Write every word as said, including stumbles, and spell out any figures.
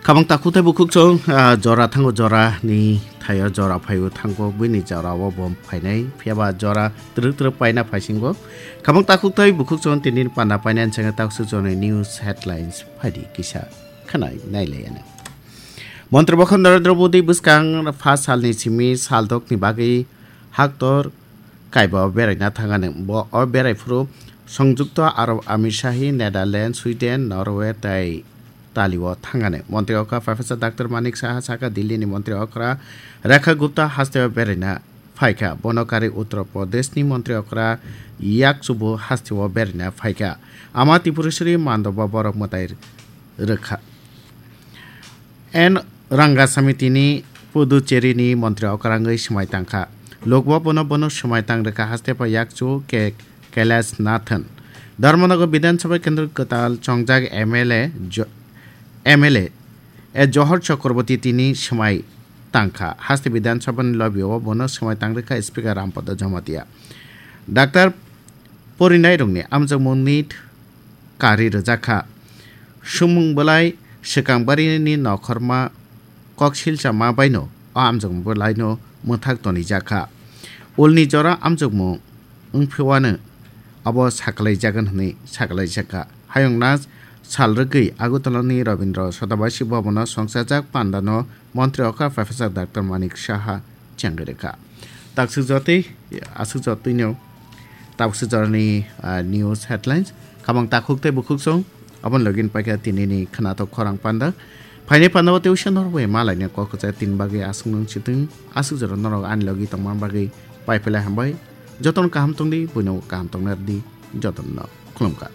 Tabang takhuk tei bukhuk chwng, ah, jora thango jora ni thaio jora phaio thango buini jora o bo phainai. Phiya ba jora twrwk twrwk paina phaisingo. Khabang takhuk tei bukhuk chwng tini panda paina chwng taksuk jora ni news headlines phaidi kisa khanai nailai ano. Montri bokhok Narendra Modi bwskang pha salni simi saldok ni bagwi haktor kaiba o beraina thangani. Bo o berai phuru Songjukto Arab Amir Shahi, Netherlands, Sweden, Norway tei Itali o thangani. Montri okra Professor Doctor Manik Saha saka Delhi ni montri okra Rekha Gupta haste o beraina phaikha. Bono kari Uttar Pradesh ni montri okra Yakchubu haste o beraina phaikha. Ama Tripureshwari Mandoba borok mwtai rwkha. N Rangasamy tini Puducherry ni montri okrangwi swmai tangkha. Lokbo bono bono swmai tang rwkha haste pha yakchu K Kailash Nathan. Dharmanagar Bidhan Sabha Kendra kwtal chongjak M L A jo-, M L A e Johor Chakraborty tini swmai tangkha. Haste Bidhan Sabha ni lobby o bono swmai tang rwkha Speaker Rampada Jamatia. Doctor Porinairokni amjokmungni kari rwjakha. Sumung belai swkang barini nokhorma koksilsa ma baino o amjokmung belaino mwthak tonijakha. Ulni jora amjokmung wngphewano abo saklaijagan hwnwi saklaijakha. Hayungna sal rwgwi Agartalani Rabindra Sodabasi Bhabono songchajak pandano Montri okra Professor Doctor Manik Saha chengwi rwkha. Taksuk jotwi, aswk jotwino taksuk jorani, ah, news headlines. Khabang takhuk tei bukhuk song, aboni logi paikha tinini khwnathok khorang panda. Phaini panda o tei usia norok bai malaina kok kwchai tin bagwi aswk nung chitwng, aswk jora norok ani logi tongma bagwi pai phailai hambai. Jotono kaham tongdi, buino kaham tongna rwdi, jotono khulumkha.